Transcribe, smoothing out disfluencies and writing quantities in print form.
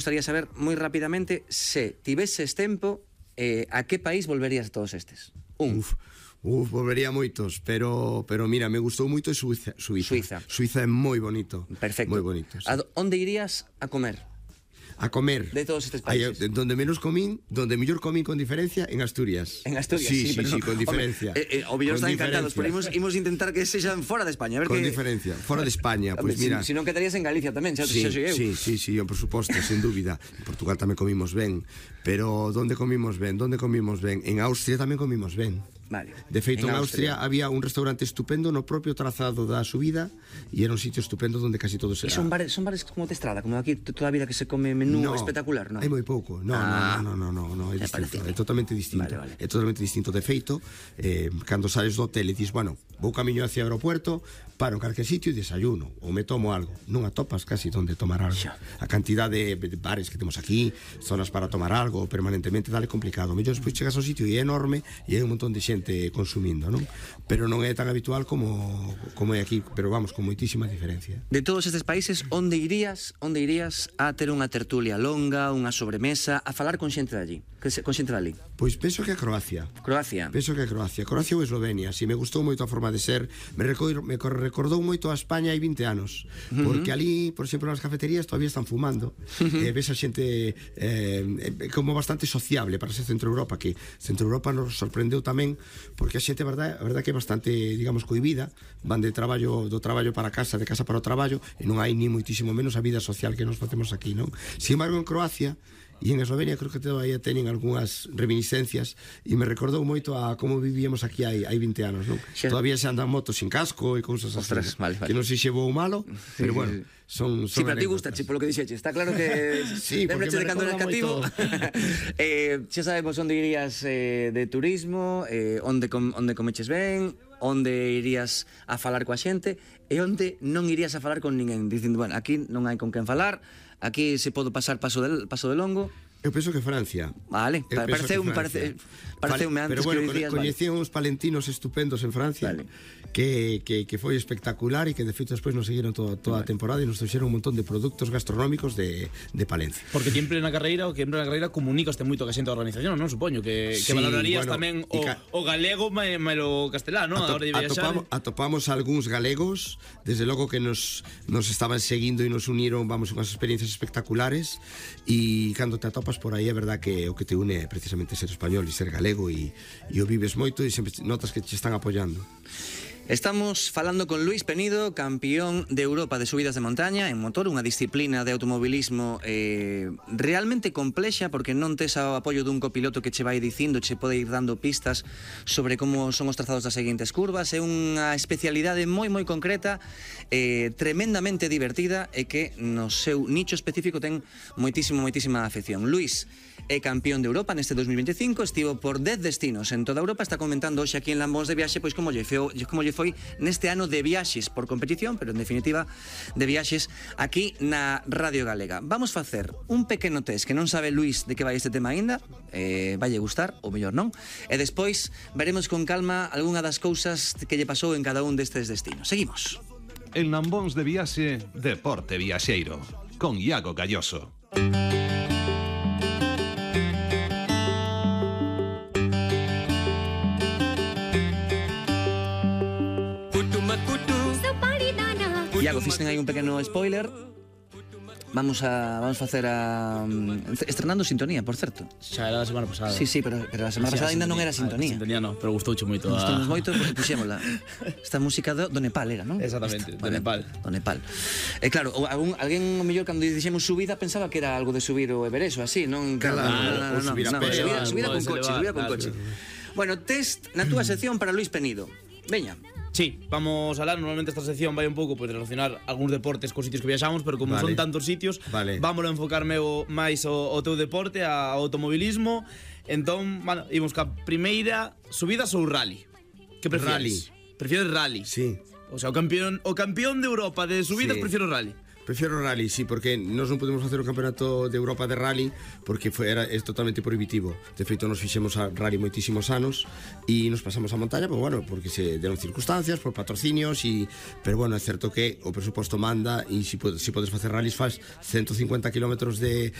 gustaría saber moi rapidamente se tiveses tempo, a que país volverías a todos estes? Volvería moitos, pero mira, me gustou moito Suiza. Suiza é moi bonito. Perfecto. Moi bonito, sí. Onde irías a comer? A comer. De todos estes países. Donde menos comín, donde mellor comín con diferencia, en Asturias. En Asturias, sí, pero, con diferencia. O mellor están encantados, pero imos intentar que sexan fora de España, a ver con diferencia, fora de España, pois mira. Si non quedarías en Galicia tamén, xa sí, eu. Sí, por suposto, sen dúbida. En Portugal tamén comimos ben, pero onde comimos ben? En Austria tamén comimos ben. Vale. De feito, en Austria había un restaurante estupendo no propio trazado da subida e era un sitio estupendo onde casi todo se era. E son bares como de estrada, como aquí toda a vida que se come menú espectacular, non? Hai moi pouco. No, é distinto, é totalmente distinto. Vale. É totalmente distinto. De feito, cando sales do hotel e dis, bueno, vou camiño hacia o aeropuerto, paro en calquer sitio e desayuno ou me tomo algo. Non atopas casi onde tomar algo. A cantidade de bares que temos aquí, zonas para tomar algo permanentemente, dale complicado. Mellor despois chegas ao sitio e é enorme e hai un montón de xente consumindo, non? Pero non é tan habitual como é aquí, pero vamos, con moitísima diferencia. De todos estes países, onde irías a ter unha tertulia longa, unha sobremesa, a falar con xente de allí, con xente de allí? Pois penso que a Croacia. Penso que a Croacia ou Eslovenia, si me gustou moito a forma de ser, me recordou moito a España hai 20 anos, porque ali, por exemplo, nas cafeterías todavía están fumando, ves a xente como bastante sociable para ser Centro Europa, que Centro Europa nos sorprendeu tamén porque a xente, a verdade que é bastante, digamos, cohibida, van do traballo para casa, de casa para o traballo, e non hai ni moitísimo menos a vida social que nos facemos aquí, non? Sin embargo, en Croacia e en Eslovenia creo que todavía teñen algunhas reminiscencias e me recordou moito a como vivíamos aquí hai 20 anos, non? Todavía se andan motos sin casco e cousas así. Vale. Que non sei se vou malo, pero bueno, son sí, pero a ti gusta, polo que dixeche. Está claro que sí, lembrache de cando eras cativo. Xa sabemos onde irías de turismo, onde comeches ben, onde irías a falar coa xente e onde non irías a falar con ninguén, dicindo, bueno, aquí non hai con quen falar, aquí se pode pasar paso de longo. Eu penso que Francia. Vale, pareceume antes pero bueno, que dicías. Coñecía uns palentinos estupendos en Francia, que foi espectacular e que de feito despois nos seguiron toda a temporada e nos trouxeron un montón de produtos gastronómicos de Palencia. Porque ti en plena carreira comunicaste moito ca xente da organización, non? Supoño que valorarías tamén o galego malo castelán, non? Atopamos algúns galegos, desde logo que nos estaban seguindo e nos uniron, vamos, unhas experiencias espectaculares, e cando te atopas por aí é verdad que o que te une é precisamente ser español e ser galego e o vives moito e sempre notas que te están apoiando. Estamos falando con Luís Penido, campeón de Europa de subidas de montaña en motor, unha disciplina de automobilismo realmente complexa, porque non tes o apoio dun copiloto que che vai dicindo, che pode ir dando pistas sobre como son os trazados das seguintes curvas. É unha especialidade moi concreta, tremendamente divertida e que no seu nicho específico ten moitísima afección. Luís é campeón de Europa neste 2025, estivo por 10 destinos en toda Europa, está comentando hoxe aquí en Lambóns de Viaxe pois como lle foi neste ano de viaxes por competición, pero en definitiva de viaxes aquí na Radio Galega. Vamos facer un pequeno test que non sabe Luís de que vai este tema aínda, vaille gustar, ou mellor non, e despois veremos con calma algunha das cousas que lle pasou en cada un destes destinos. Seguimos. En Lambóns de Viaxe, Deporte Viaxeiro, con Iago Galloso. Iago, fixen aí un pequeno spoiler. Vamos facer estrenando sintonía, por certo. Xa era a semana pasada. Sí, pero a semana pasada ainda non era sintonía. Sintonía non, pero gustouche moito. Gustounos moito porque puxémola. Esta música do Nepal era, non? Exactamente, do Nepal. Do Nepal. Claro, alguén o mellor cando dixemos subida pensaba que era algo de subir o Everest ou así, non? Claro, subida con coche. Bueno, test na túa sección para Luís Penido. Veña. Sí, vamos a hablar, normalmente esta sección vai un pouco pues, relacionar algúns deportes cos sitios que viaxamos, pero como son tantos sitios, vámoslo a enfocarme máis ao teu deporte, ao automobilismo. Entón, bueno, imos ca primeira, subidas ou rally? Que prefieres? Prefieres rally? Sí. O sea, o campeón de Europa de subidas, sí. Prefiero rally. Prefiero rally, sí, porque nós non podemos facer o campeonato de Europa de rally porque é totalmente prohibitivo. De feito, nos fixemos a rally moitísimos anos e nos pasamos a montaña, pues, bueno, porque se deron circunstancias, por patrocinios pero bueno, é certo que o presuposto manda e se podes facer rallies faz 150 km de